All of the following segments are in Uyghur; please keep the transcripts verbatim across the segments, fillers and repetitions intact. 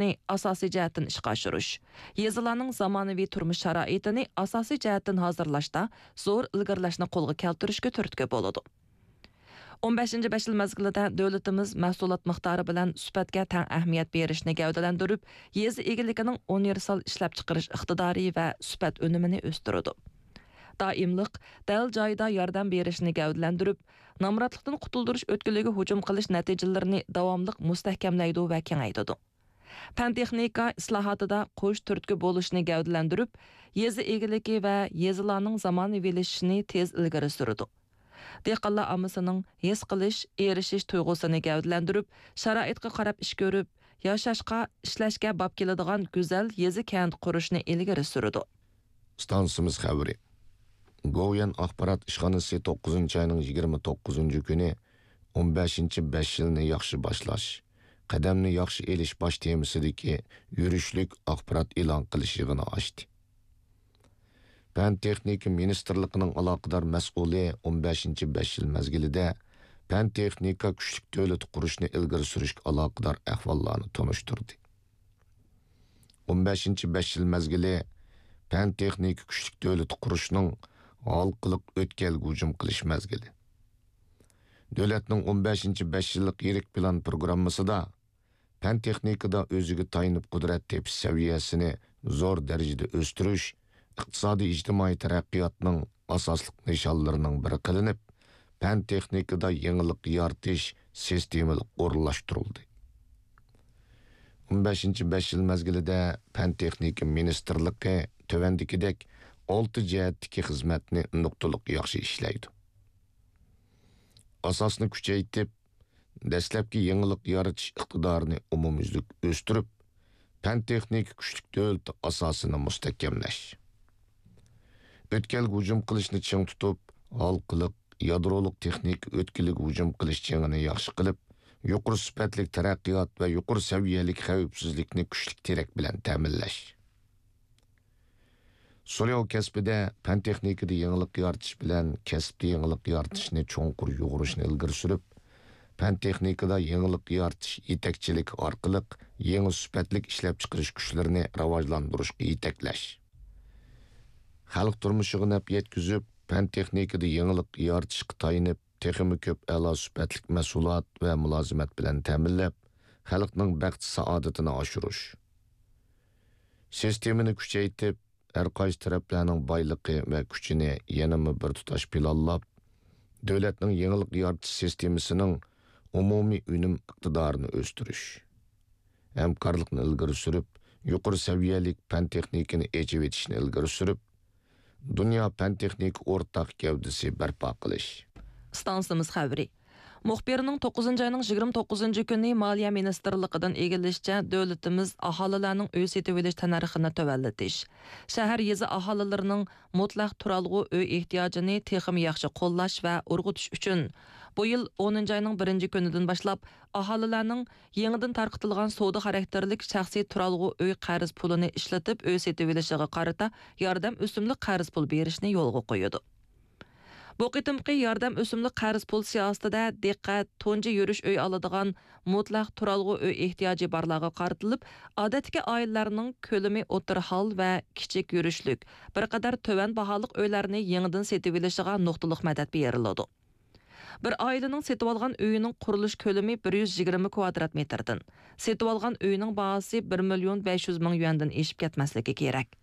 ئىشلەشنى ئاساسىي جەھەتتىن ئىشقا ئاشۇرۇش، يېزىلارنىڭ زامانىۋى تۇرمۇش شارائىتىنى ئاساسىي جەھەتتىن ھازىرلاشتا زور ئىلگىرىلەشنى قولغا كەلتۈرۈشكە تۈرتكە بولىدۇ. ئون بەشىنچى بەش يىل مەزگىلىدە دۆلىتىمىز مەھسۇلات مىقدارى بىلەن سۈپەتكە تەڭ ئەھمىيەت بېرىشنى گەۋدىلەندۈرۈپ، يېزا ئىگىلىكىنىڭ ئۇنىۋېرسال ئىشلەپچىقىرىش ئىقتىدارى ۋە سۈپەت ئۈنۈمىنى ئۆستۈرىدۇ. دائىملىق، دەل جايىدا ياردەم بېرىشنى گەۋدىلەندۈرۈپ، نامراتلىقتىن قۇتۇلدۇرۇش ئۆتكىلىگە ھۇجۇم قىلىش نەتىجىلىرىنى داۋاملىق مۇستەھكەملەيدۇ ۋە كېڭەيتىدۇ. پەن-تېخنىكا ئىسلاھاتىدا قوش تۈرتكە بولۇشنى گەۋدىلەندۈرۈپ، يېزا ئىگىلىكى ۋە يېزىلارنىڭ زامانىۋىلىشىشىنى تېز ئىلگىرى سۈرىدۇ. دېھقانلار ئاممىسىنىڭ ھېس قىلىش، ئېرىشىش تۇيغۇسىنى گەۋدىلەندۈرۈپ، شارائىتقا قاراپ ئىش كۆرۈپ، ياشاشقا، ئىشلەشكە باب كېلىدىغان گۈزەل يېزا-كەنت قۇرۇشنى ئىلگىرى سۈرىدۇ. ئىستانسىمىز خەۋىرى. گوۋۇيۈەن ئاخبارات ئىشخانىسى توققۇزىنچى ئاينىڭ يىگىرمە توققۇزىنچى كۈنى ئون بەشىنچى بەش يىلنى ياخشى باشلاش، قەدەمنى ياخشى ئېلىش باش تېمىسىدىكى يۈرۈشلۈك ئاخبارات ئېلان قىلىش يىغىنى ئاچتى. پەن-تېخنىكا مىنىستىرلىقىنىڭ ئالاقىدار مەسئۇلى ئون بەشىنچى بەش يىل مەزگىلىدە پەن-تېخنىكا كۈچلۈك دۆلىتى قۇرۇشنى ئىلگىرى سۈرۈشكە ئالاقىدار ئەھۋاللارنى تونۇشتۇردى. ئون بەشىنچى بەش يىل مەزگىلى پەن-تېخنىكا كۈچلۈك دۆلىتى قۇرۇشنىڭ ھالقىلىق ئۆتكەلگە ھۇجۇم قىلىش مەزگىلى. دۆلەتنىڭ ئون بەشىنچى بەش يىللىق يىرىك پىلان پروگراممىسىدا پەن-تېخنىكىدا ئۆزىگە تايىنىپ قۇدرەت تېپىش سەۋىيەسىنى زور دەرىجىدە ئۆستۈرۈش ئىقتىسادىي ئىجتىمائىي تەرەققىياتنىڭ ئاساسلىق نىشانلىرىنىڭ بىرى قىلىنىپ، پەن-تېخنىكىدا يېڭىلىق يارىتىش سىستېمىلىق ئورۇنلاشتۇرۇلدى. ئون بەشىنچى بەش يىل مەزگىلىدە پەن-تېخنىكا مىنىستىرلىقى تۆۋەندىكىدەك ئالتە جەھەتتىكى خىزمەتنى نۇقتىلىق ياخشى ئىشلەيدۇ. ئاساسنى كۈچەيتىپ، دەسلەپكى يېڭىلىق يارىتىش ئىقتىدارىنى ئومۇميۈزلۈك ئۆستۈرۈپ، پەن-تېخنىكا كۈچلۈك دۆلىتى ئاساسىنى مۇستەھكەملەش. ئۆتكەلگە ھۇجۇم قىلىشنى چىڭ تۇتۇپ، ھالقىلىق، يادرولۇق تېخنىكا ئۆتكىلىگە ھۇجۇم قىلىش جېڭىنى ياخشى قىلىپ، يۇقىرى سۈپەتلىك تەرەققىيات ۋە يۇقىرى سەۋىيەلىك خەۋپسىزلىكنى كۈچلۈك تىرەك بىلەن تەمىنلەش. سۇلياۋ كەسپىدە پەن-تېخنىكىدا يېڭىلىق يارىتىش بىلەن كەسىپتە يېڭىلىق يارىتىشنى چوڭقۇر يۇغۇرۇشنى ئىلگىرى سۈرۈپ، پەن-تېخنىكىدا يېڭىلىق يارىتىش يېتەكچىلىكى ئارقىلىق يېڭى سۈپەتلىك ئىشلەپچىقىرىش كۈچلىرىنى راۋاجلاندۇرۇشقا يېتەكلەش. خەلق تۇرمۇشىغا نەپ يەتكۈزۈپ، پەن-تېخنىكىدا يېڭىلىق يارىتىشقا تايىنىپ، تېخىمۇ كۆپ ئەلا سۈپەتلىك مەھسۇلات ۋە مۇلازىمەت بىلەن تەمىنلەپ، خەلقنىڭ بەخت-سائادىتىنى ئاشۇرۇش. سىستېمىنى كۈچەيتىپ، ھەر قايسى تەرەپلەرنىڭ بايلىقى ۋە كۈچىنى يەنىمۇ بىر تۇتاش پىلانلاپ، دۆلەتنىڭ يېڭىلىق يارىتىش سىستېمىسىنىڭ ئومۇمىي ئۈنۈم ئىقتىدارىنى ئۆستۈرۈش، ھەمكارلىقنى ئىلگىرى سۈرۈپ، يۇقىرى سەۋىيەلىك پەن-تېخنىكىنى ئېچىۋېتىشنى ئىلگىرى سۈرۈپ، دۇنيا پەن-تېخنىكا ئورتاق گەۋدىسى بەرپا قىلىش. ئىستانسىمىز خەۋىرى. مۇخبىرنىڭ توققۇزىنچى ئاينىڭ يىگىرمە توققۇزىنچى كۈنى مالىيە مىنىستىرلىقىدىن ئىگىلىشىچە، دۆلىتىمىز ئاھالىلەرنىڭ ئۆي سېتىۋېلىش تەننەرخىنى تۆۋەنلىتىش، شەھەر، يېزا ئاھالىلىرىنىڭ مۇتلەق تۇرالغۇ ئۆي ئېھتىياجىنى تېخىمۇ ياخشى قوللاش ۋە ئۇرغۇتۇش ئۈچۈن، بۇ يىل ئونىنچى ئاينىڭ بىرىنچى كۈنىدىن باشلاپ ئاھالىلەرنىڭ يېڭىدىن تارقىتىلغان سودا خاراكتېرلىك شەخسىي تۇرالغۇ ئۆي قەرز پۇلىنى ئىشلىتىپ ئۆي سېتىۋېلىشىغا قارىتا ياردەم ئۆسۈملۈك قەرز پۇل بېرىشنى يولغا قويىدۇ. بۇ قېتىمقى ياردەم ئۆسۈملۈك قەرز پۇل سىياسىتىدە دىققەت تۇنجى يۈرۈش ئۆي ئالىدىغان مۇتلەق تۇرالغۇ ئۆي ئېھتىياجى بارلارغا قارىتىلىپ، ئادەتتىكى ئائىلىلەرنىڭ كۆلىمى ئوتتۇرا ھال ۋە كىچىك يۈرۈشلۈك، بىر قەدەر تۆۋەن باھالىق ئۆيلەرنى يېڭىدىن سېتىۋېلىشىغا نۇقتىلىق مەدەت بېرىلىدۇ. بىر ئائىلىنىڭ سېتىۋالغان ئۆيىنىڭ قۇرۇلۇش كۆلىمى بىر يۈز يىگىرمە كۋادرات مېتىردىن، سېتىۋالغان ئۆيىنىڭ باھاسى بىر مىليون بەش يۈز مىڭ يۈەندىن ئېشىپ كەتمەسلىكى كېرەك.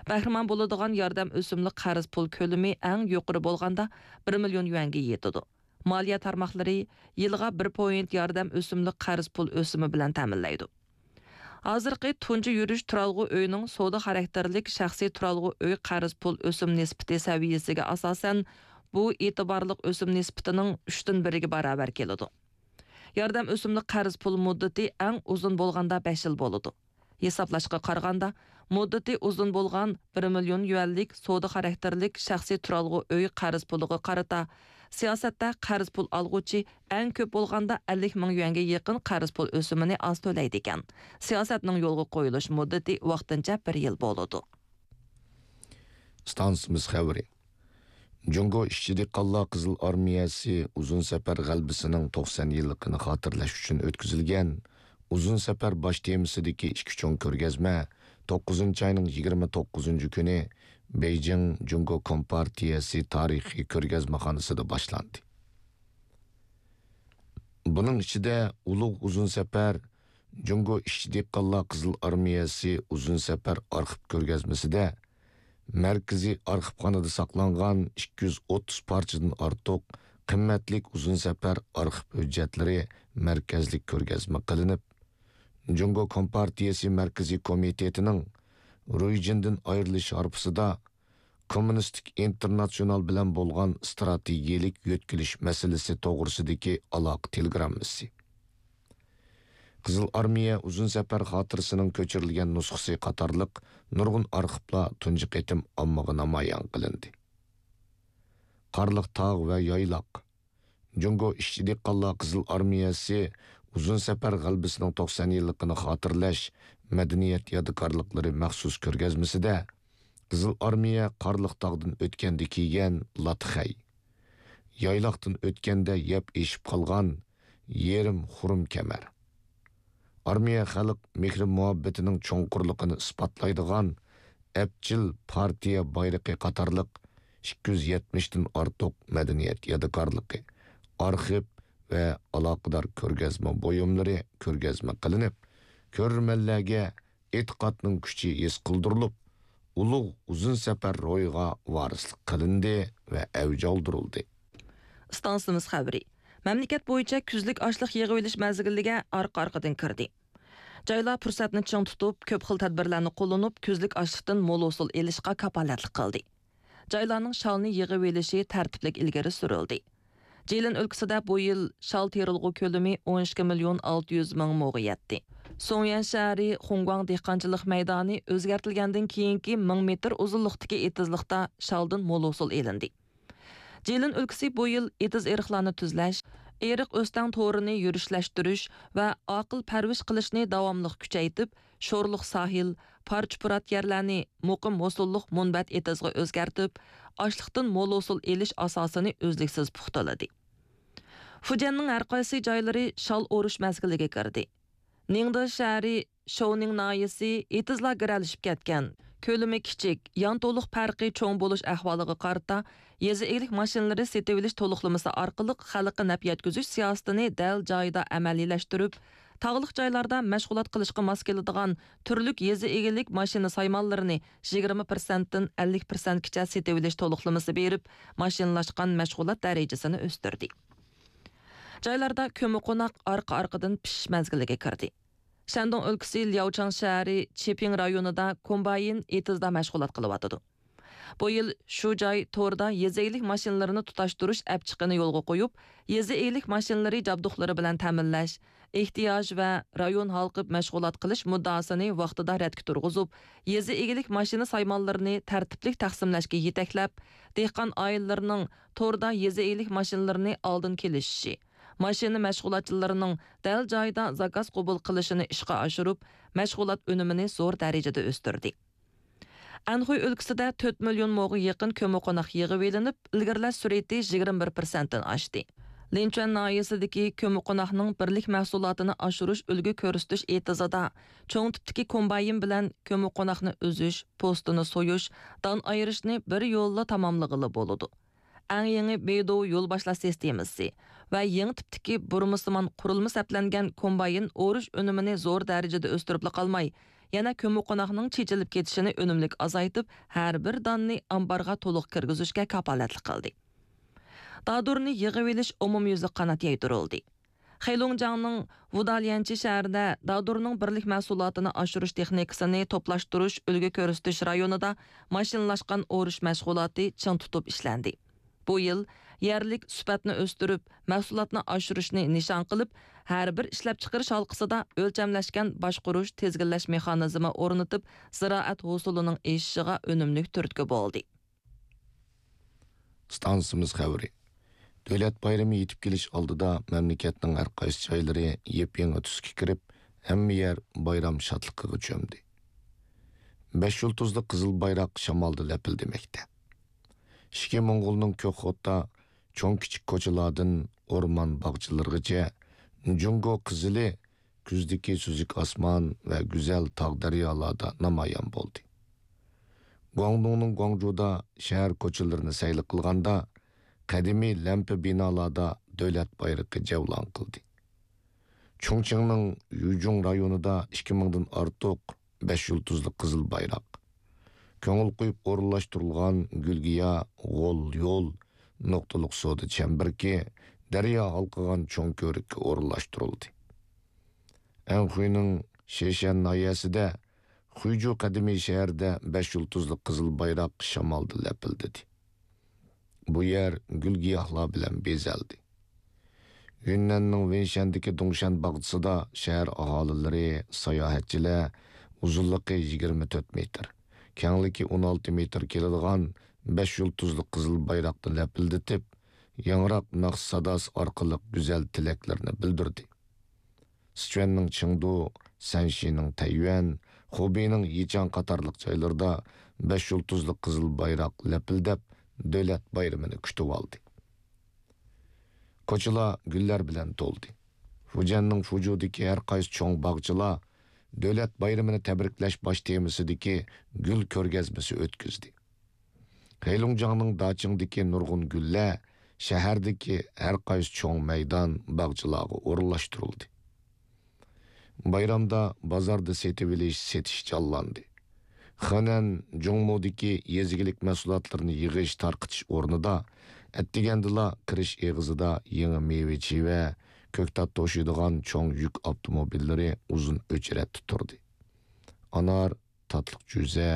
بەھرىمەن بولىدىغان ياردەم ئۆسۈملۈك قەرز پۇل كۆلىمى ئەڭ يۇقىرى بولغاندا بىر مىليون يۈەنگە يېتىدۇ. مالىيە تارماقلىرى يىلىغا بىر پوينت ياردەم ئۆسۈملۈك قەرز پۇل ئۆسۈمى بىلەن تەمىنلەيدۇ. ھازىرقى تۇنجى يۈرۈش تۇرالغۇ ئۆينىڭ سودا خاراكتېرلىك شەخسىي تۇرالغۇ ئۆي قەرز پۇل ئۆسۈم نىسبىتى سەۋىيەسىگە ئاساسەن، بۇ ئېتىبارلىق ئۆسۈم نىسبىتىنىڭ ئۈچتىن بىرىگە باراۋەر كېلىدۇ. ياردەم ئۆسۈملۈك قەرز پۇل مۇددىتى ئەڭ ئۇزۇن بولغاندا بەش يىل بولىدۇ. ھېسابلاشقا قارىغاندا، مۇددىتى ئۇزۇن بولغان بىر مىليون يۈەنلىك سودا خاراكتېرلىك شەخسىي تۇرالغۇ ئۆي قەرز پۇلىغا قارىتا، سىياسەتتە قەرز پۇل ئالغۇچى ئەڭ كۆپ بولغاندا ئەللىك مىڭ يۈەنگە يېقىن قەرز پۇل ئۆسۈمىنى ئاز تۆلەيدىكەن. سىياسەتنىڭ يولغا قويۇلۇش مۇددىتى ۋاقتىنچە بىر يىل بولىدۇ. ئىستانسىمىز خەۋىرى. جۇڭگو ئىشچى دېھقانلار قىزىل ئارمىيەسى ئۇزۇن سەپەر غەلىبىسىنىڭ توقسان يىللىقىنى خاتىرىلەش ئۈچۈن ئۆتكۈزۈلگەن ئۇزۇن سەپەر باش تېمىسىدىكى ئىككى چوڭ كۆرگەزمە توققۇزىنچى ئاينىڭ يىگىرمە توققۇزىنچى كۈنى بېيجىڭ جۇڭگو كومپارتىيەسى تارىخىي كۆرگەزمىخانىسىدا باشلاندى. بۇنىڭ ئىچىدە ئۇلۇغ ئۇزۇن سەپەر، جۇڭگو ئىشچى دېھقانلار قىزىل ئارمىيەسى ئۇزۇن سەپەر ئارخىپ كۆرگەزمىسىدە مەركىزىي ئارخىپخانىدا ساقلانغان ئىككى يۈز ئوتتۇز پارچىدىن ئارتۇق قىممەتلىك ئۇزۇن سەپەر ئارخىپ ھۆججەتلىرى مەركەزلىك كۆرگەزمە قىلىنىپ، جۇڭگو كومپارتىيەسى مەركىزىي كومىتېتىنىڭ رويجىندىن ئايرىلىش ھارپىسىدا كوممۇنىستىك ئىنتېرناتسىونال بىلەن بولغان ئىستراتېگىيەلىك يۆتكىلىش مەسىلىسى توغرىسىدىكى ئالاقە تېلېگراممىسى، قىزىل ئارمىيە ئۇزۇن سەپەر خاتىرىسىنىڭ كۆچۈرۈلگەن نۇسخىسى قاتارلىق نۇرغۇن ئارخىپلار تۇنجى قېتىم ئاممىغا نامايان قىلىندى. قارلىق تاغ ۋە يايلاق، جۇڭگو ئىشچى دېھقانلار قىزىل ئارمىيەسى ئۇزۇن سەپەر غەلىبىسىنىڭ توقسان يىللىقىنى خاتىرىلەش مەدەنىيەت يادىكارلىقلىرى مەخسۇس كۆرگەزمىسىدە قىزىل ئارمىيە قارلىق تاغدىن ئۆتكەندە كىيگەن لاتخەي، يايلاقتىن ئۆتكەندە يەپ ئېشىپ قالغان يېرىم خۇرۇم كەمەر، ئارمىيە خەلق مېھرى مۇھەببىتىنىڭ چوڭقۇرلۇقىنى ئىسپاتلايدىغان ئەپچىل پارتىيە بايرىقى قاتارلىق ئىككى يۈز يەتمىشتىن ئارتۇق مەدەنىيەت يادىكارلىقى، ئارخىپ ۋە ئالاقىدار كۆرگەزمە بۇيۇملىرى كۆرگەزمە قىلىنىپ، كۆرۈرمەنلەرگە ئېتىقادنىڭ كۈچى ھېس قىلدۇرۇلۇپ، ئۇلۇغ ئۇزۇن سەپەر روھىغا ۋارىسلىق قىلىندى ۋە ئەۋج ئالدۇرۇلدى. ئىستانسىمىز خەۋىرى. مەملىكەت بويىچە كۈزلۈك ئاشلىق يىغىۋېلىش مەزگىلىگە ئارقا-ئارقىدىن كىردى. جايلار پۇرسەتنى چىڭ تۇتۇپ، كۆپ خىل تەدبىرلەرنى قوللىنىپ، كۈزلۈك ئاشلىقتىن مول ھوسۇل ئېلىشقا كاپالەتلىك قىلدى. جايلارنىڭ شالنى يىغىۋېلىشى تەرتىپلىك ئىلگىرى سۈرۈلدى. جىلىن ئۆلكىسىدە بۇ يىل شال تېرىلغۇ كۆلىمى ئون ئىككى مىليون ئالتە يۈز مىڭ موغا يەتتى. سۇڭيۈەن شەھىرى خۇڭگۇاڭ دېھقانچىلىق مەيدانى ئۆزگەرتىلگەندىن كېيىنكى مىڭ مېتىر ئۇزۇنلۇقتىكى ئېتىزلىقتا شالدىن مول ھوسۇل ئېلىندى. جىلىن ئۆلكىسى بۇ يىل ئېتىز-ئېرىقلارنى تۈزلەش، ئېرىق-ئۆستەڭ تورىنى يۈرۈشلەشتۈرۈش ۋە ئاقىل پەرۋىش قىلىشنى داۋاملىق كۈچەيتىپ، شورلۇق ساھىل، پارچە-پۇرات يەرلەرنى مۇقىم ھوسۇللۇق مۇنبەت ئېتىزغا ئۆزگەرتىپ، ئاشلىقتىن مول ھوسۇل ئېلىش ئاساسىنى ئۈزلۈكسىز پۇختىلىدى. فۇجيەننىڭ ھەرقايسى جايلىرى شال ئورۇش مەزگىلىگە كىردى. نىڭدې شەھىرى شوۋنىڭ ناھىيەسى ئېتىزلار گىرەلىشىپ كەتكەن، كۆلىمى كىچىك، يان تولۇق پەرقى چوڭ بولۇش ئەھۋالىغا قارىتا، يېزا ئىگىلىك ماشىنىلىرى سېتىۋېلىش تولۇقلىمىسى ئارقىلىق خەلققە نەپ يەتكۈزۈش سىياسىتىنى دەل جايىدا ئەمەلىيلەشتۈرۈپ، تاغلىق جايلاردا مەشغۇلات قىلىشقا ماس كېلىدىغان تۈرلۈك يېزا ئىگىلىك ماشىنا سايمانلىرىنى يىگىرمە پىرسەنتتىن ئەللىك پىرسەنتكىچە سېتىۋېلىش تولۇقلىمىسى بېرىپ، ماشىنىلاشقان مەشغۇلات دەرىجىسىنى ئۆستۈردى. جايلاردا كۆممىقوناق ئارقا-ئارقىدىن پىشىش مەزگىلىگە كىردى. شەندۇڭ ئۆلكىسى لياۋچاڭ شەھىرى چېپىڭ رايونىدا كومباين ئېتىزدا مەشغۇلات قىلىۋاتىدۇ. بۇ يىل شۇ جاي توردا يېزا ئىگىلىك ماشىنىلىرىنى تۇتاشتۇرۇش ئەپچىقىنى يولغا قويۇپ، يېزا ئىگىلىك ماشىنىلىرى جابدۇقلىرى بىلەن تەمىنلەش، ئېھتىياج ۋە رايون ھالقىپ مەشغۇلات قىلىش مۇددىئاسىنى ۋاقتىدا رەتكە تۇرغۇزۇپ، يېزا ئىگىلىك ماشىنا سايمانلىرىنى تەرتىپلىك تەقسىملەشكە يېتەكلەپ، دېھقان ئائىلىلىرىنىڭ توردا يېزا ئىگىلىك ماشىنىلىرىنى ئالدىن كېلىشىشى، ماشىنا مەشغۇلاتچىلىرىنىڭ دەل جايىدا زاكاز قوبۇل قىلىشىنى ئىشقا ئاشۇرۇپ، مەشغۇلات ئۈنۈمىنى زور دەرىجىدە ئۆستۈردى. ئەنخۇي ئۆلكىسىدە تۆت مىليون موغا يېقىن كۆممىقوناق يىغىۋېلىنىپ، ئىلگىرىلەش سۈرئىتى يىگىرمە بىر پىرسەنتتىن ئاشتى. لىنچۈەن ناھىيەسىدىكى كۆممىقوناقنىڭ بىرلىك مەھسۇلاتىنى ئاشۇرۇش ئۈلگە كۆرسىتىش ئېتىزىدا چوڭ تىپتىكى كومباين بىلەن كۆممىقوناقنى ئۈزۈش، پوستىنى سويۇش، دان ئايرىشنى بىر يوللا تاماملىغىلى بولىدۇ. ئەڭ يېڭى بېيدۇ يول باشلاش سىستېمىسى ۋە يېڭى تىپتىكى بۇرمىسىمان قۇرۇلما سەپلەنگەن كومباين ئورۇش ئۈنۈمىنى زور دەرىجىدە ئۆستۈرۈپلا قالماي، يەنە كۆممىقوناقنىڭ چېچىلىپ كېتىشىنى ئۈنۈملۈك ئازايتىپ، ھەر بىر داننى ئامبارغا تولۇق كىرگۈزۈشكە كاپالەتلىك قىلدى. دادۇرنى يىغىۋېلىش ئومۇميۈزلۈك قانات يايدۇرۇلدى. خېلۇڭجياڭنىڭ ۋۇداليەنچى شەھىرىدە دادۇرنىڭ بىرلىك مەھسۇلاتىنى ئاشۇرۇش تېخنىكىسىنى توپلاشتۇرۇش ئۈلگە كۆرسىتىش رايونىدا ماشىنىلاشقان ئورۇش مەشغۇلاتى چىڭ تۇتۇپ ئىشلەندى. بۇ يىل يەرلىك سۈپەتنى ئۆستۈرۈپ، مەھسۇلاتنى ئاشۇرۇشنى نىشان قىلىپ، ھەر بىر ئىشلەپچىقىرىش ھالقىسىدا ئۆلچەملەشكەن باشقۇرۇش، تىزگىنلەش مېخانىزمى ئورنىتىپ، زىرائەت ھوسۇلىنىڭ ئېشىشىغا ئۈنۈملۈك تۈرتكە بولدى. ئىستانسىمىز خەۋىرى. دۆلەت بايرىمى يېتىپ كېلىش ئالدىدا مەملىكەتنىڭ ھەر قايسى جايلىرى يېپيېڭى تۈسكە كىرىپ، ھەممە يەر بايرام شادلىقىغا چۆمدى. بەش يۇلتۇزلۇق قىزىل بايراق شامالدا لەپىلدىمەكتە. ئىچكى موڭغۇلنىڭ كۆكخوتا چوڭ-كىچىك كوچىلاردىن ئورمان باغچىلىرىغىچە جۇڭگو قىزىلى كۈزدىكى سۈزۈك ئاسمان ۋە گۈزەل تاغ-دەريالاردا نامايان بولدى. گۇاڭدۇڭنىڭ گۇاڭجۇدا شەھەر كوچىلىرىنى سەيلە قىلغاندا، قەدىمىي لەمپە بىنالاردا دۆلەت بايرىقى جەۋلان قىلدى. چۇڭچىڭنىڭ يۈجۇڭ رايونىدا ئىككى مىڭدىن ئارتۇق بەش يۇلتۇزلۇق قىزىل بايراق، كۆڭۈل قويۇپ ئورۇنلاشتۇرۇلغان گۈلگىيا، غول يول، نۇقتىلىق سودا چەمبىرىكى، دەريا ھالقىغان چوڭ كۆۋرۈككە ئورۇنلاشتۇرۇلدى. ئەنخۇينىڭ شېشەن ناھىيەسىدە خۇيجۇ قەدىمىي شەھىرىدە بەش يۇلتۇزلۇق قىزىل بايراق شامالدا لەپىلدىدى. بۇ يەر گۈل-گىياھلار بىلەن بېزەلدى. يۈننەننىڭ ۋېنشەندىكى دۇڭشەن باغچىسىدا شەھەر ئاھالىلىرى، ساياھەتچىلەر ئۇزۇنلۇقى يىگىرمە تۆت مېتىر، كەڭلىكى ئون ئالتە مېتىر كېلىدىغان بەش يۇلتۇزلۇق قىزىل بايراقنى لەپىلدىتىپ، ياڭراق ناخشا ساداسى ئارقىلىق گۈزەل تىلەكلىرىنى بىلدۈردى. سىچۈەننىڭ چېڭدۇ، سەنشىنىڭ تەييۈەن، خۇبېينىڭ يىچاڭ قاتارلىق جايلىرىدا بەش يۇلتۇزلۇق قىزىل بايراق لەپىلدەپ، دۆلەت بايرىمىنى كۈتۈۋالدى. كوچىلار گۈللەر بىلەن تولدى. فۇجيەننىڭ فۇجۇدىكى ھەر قايسى چوڭ باغچىلار دۆلەت بايرىمىنى تەبرىكلەش باش تېمىسىدىكى گۈل كۆرگەزمىسى ئۆتكۈزدى. خېيلۇڭجاڭنىڭ داچىڭدىكى نۇرغۇن گۈللەر شەھەردىكى ھەر قايسى چوڭ مەيدان، باغچىلارغا ئورۇنلاشتۇرۇلدى. بايرامدا بازاردا سېتىۋېلىش، سېتىش جانلاندى. خېنەن جۇڭمۇدىكى يېزا ئىگىلىك مەھسۇلاتلىرىنى يىغىش، تارقىتىش ئورنىدا ئەتىگەندىلا كىرىش ئېغىزىدا يېڭى مېۋە-چىۋە، كۆكتات توشۇيدىغان چوڭ يۈك ئاپتوموبىللىرى ئۇزۇن ئۆچرەتتە تۇردى. ئانار، تاتلىق جۈزە،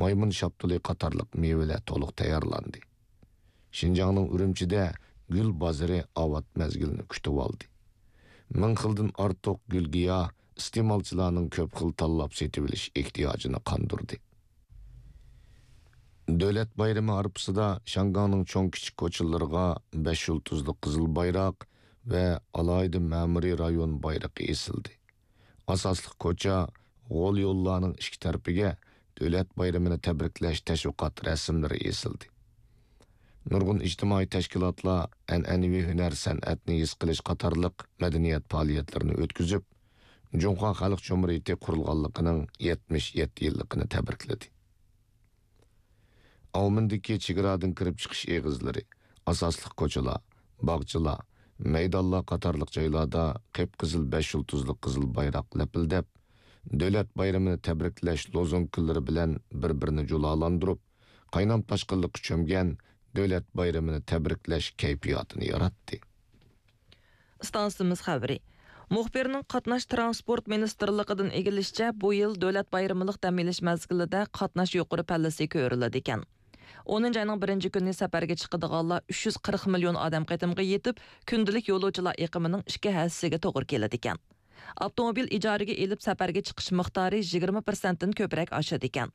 مايمۇن شاپتۇلى قاتارلىق مېۋىلەر تولۇق تەييارلاندى. شىنجاڭنىڭ ئۈرۈمچىدە گۈل بازىرى ئاۋات مەزگىلنى كۈتۈۋالدى. مىڭ خىلدىن ئارتۇق گۈل-گىياھ ئىستېمالچىلارنىڭ كۆپ خىل تاللاپ سېتىۋېلىش ئېھتىياجىنى قاندۇردى. دۆلەت بايرىمى ھارپىسىدا شياڭگاڭنىڭ چوڭ-كىچىك كوچىلىرىغا بەش يۇلتۇزلۇق قىزىل بايراق ۋە ئالاھىدە مەمۇرىي رايون بايرىقى ئېسىلدى. ئاساسلىق كوچا، غول يوللارنىڭ ئىككى تەرىپىگە دۆلەت بايرىمىنى تەبرىكلەش تەشۋىقات رەسىملىرى ئېسىلدى. نۇرغۇن ئىجتىمائىي تەشكىلاتلار ئەنئەنىۋى ھۈنەر-سەنئەتنى ھېس قىلىش قاتارلىق مەدەنىيەت پائالىيەتلىرىنى ئۆتكۈزۈپ، جۇڭخۇا خەلق جۇمھۇرىيىتى قۇرۇلغانلىقىنىڭ يەتمىش يەتتە يىللىقىنى تەبرىكلىدى. ئاۋمېندىكى چېگرادىن كىرىپ چىقىش ئېغىزلىرى، ئاساسلىق كوچىلار، باغچىلار، مەيدانلار قاتارلىق جايلاردا قىپقىزىل بەش يۇلتۇزلۇق قىزىل بايراق لەپىلدەپ، دۆلەت بايرىمىنى تەبرىكلەش لوزۇنكىلىرى بىلەن بىر-بىرىنى جۇلالاندۇرۇپ، قاينام تاشقىنلىققا چۆمگەن دۆلەت بايرىمىنى تەبرىكلەش كەيپىياتىنى ياراتتى. ئىستانسىمىز خەۋىرى. مۇخبىرنىڭ قاتناش تىرانسپورت مىنىستىرلىقىدىن ئىگىلىشىچە، بۇ يىل دۆلەت بايرىملىق دەم ئېلىش مەزگىلىدە قاتناش يۇقىرى پەللىسى كۆرۈلىدىكەن. ئونىنچى ئاينىڭ بىرىنچى كۈنى سەپەرگە چىقىدىغانلار ئۈچ يۈز قىرىق مىليون ئادەم قېتىمغا يېتىپ، كۈندىلىك يولۇچىلار ئېقىمىنىڭ ئىككى ھەسسىسىگە توغرا كېلىدىكەن. ئاپتوموبىل ئىجارىگە ئېلىپ سەپەرگە چىقىش مىقدارى يىگىرمە پىرسەنتتىن كۆپرەك ئاشىدىكەن.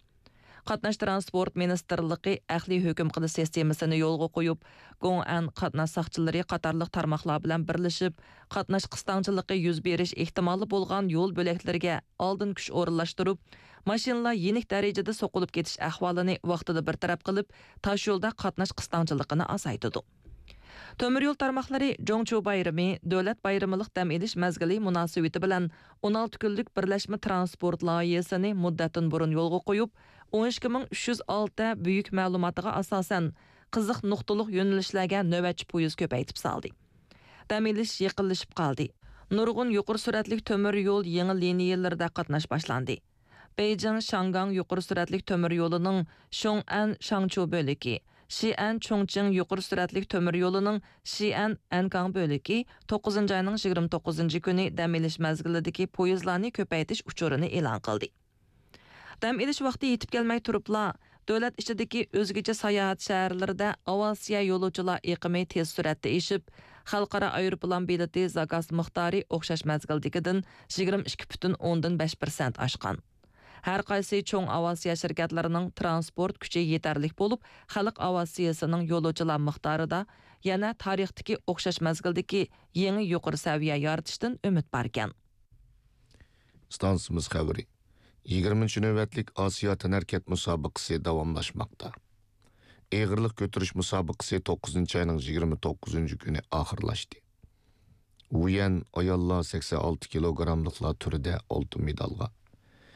قاتناش تىرانسپورت مىنىستىرلىقى ئەقلىي ھۆكۈم قىلىش سىستېمىسىنى يولغا قويۇپ، گوڭئەن قاتناش ساقچىلىرى قاتارلىق تارماقلار بىلەن بىرلىشىپ، قاتناش قىستاڭچىلىقى يۈز بېرىش ئېھتىمالى بولغان يول بۆلەكلىرىگە ئالدىن كۈچ ئورۇنلاشتۇرۇپ، ماشىنىلار يېنىك دەرىجىدە سوقۇلۇپ كېتىش ئەھۋالىنى ۋاقتىدا بىر تەرەپ قىلىپ، تاشيولدا قاتناش قىستاڭچىلىقىنى ئازايتىدۇ. تۆمۈر يول تارماقلىرى جۇڭچۇ بايرىمى، دۆلەت بايرىمىلىق دەم ئېلىش مەزگىلى مۇناسىۋىتى بىلەن ئون ئالتە كۈنلۈك بىرلەشمە تىرانسپورت لايىھەسىنى مۇددەتتىن بۇرۇن يولغا قويۇپ، ئون ئىككى مىڭ ئۈچ يۈز ئالتە بۈيۈك مەلۇماتىغا ئاساسەن، قىزىق نۇقتىلىق يۆنىلىشلەرگە نۆۋەتچى پويىز كۆپەيتىپ سالدى. دەم ئېلىش يېقىنلىشىپ قالدى. نۇرغۇن يۇقىرى سۈرئەتلىك تۆمۈر يول يېڭى لىنىيەلىرىدە قاتناش باشلاندى. بېيجىڭ شياڭگاڭ يۇقىرى سۈرئەتلىك تۆمۈر يولىنىڭ شيوڭئەن شاڭچۇ بۆلىكى، شىئەن چۇڭچىڭ يۇقىرى سۈرئەتلىك تۆمۈر يولىنىڭ شىئەن ئەنكاڭ بۆلىكى توققۇزىنچى ئاينىڭ يىگىرمە توققۇزىنچى كۈنى دەم ئېلىش مەزگىلىدىكى پويىزلارنى كۆپەيتىش ئۇچۇرىنى ئېلان قىلدى. دەم ئېلىش ۋاقتى يېتىپ كەلمەي تۇرۇپلا، دۆلەت ئىچىدىكى ئۆزگىچە ساياھەت شەھەرلىرىدە ئاۋىئاتسىيە يولۇچىلار ئېقىمى تېز سۈرئەتتە ئېشىپ، خەلقئارا ئايروپىلان بېلىتى زاكاز مىقدارى ئوخشاش مەزگىلدىكىدىن يىگىرمە ئىككى پۈتۈن ئوندىن بەش پىرسەنت ئاشقان. ھەر قايسى چوڭ ئاۋىئاتسىيە شىركەتلىرىنىڭ تىرانسپورت كۈچى يېتەرلىك بولۇپ، خەلق ئاۋىئاتسىيىسىنىڭ يولۇچىلار مىقدارىدا يەنە تارىختىكى ئوخشاش مەزگىلدىكى يېڭى يۇقىرى سەۋىيە يارىتىشتىن ئۈمىد باركەن. ئىستانسىمىز خەۋىرى. يىگىرمىنچى نۆۋەتلىك ئاسىيا تەنھەرىكەت مۇسابىقىسى داۋاملاشماقتا. ئېغىرلىق كۆتۈرۈش مۇسابىقىسى توققۇزىنچى ئاينىڭ يىگىرمە توققۇزىنچى كۈنى ئاخىرلاشتى. ۋۇيەن ئاياللار سەكسەن ئالتە كىلوگراملىقلار تۈرىدە ئالتۇن مېدالغا،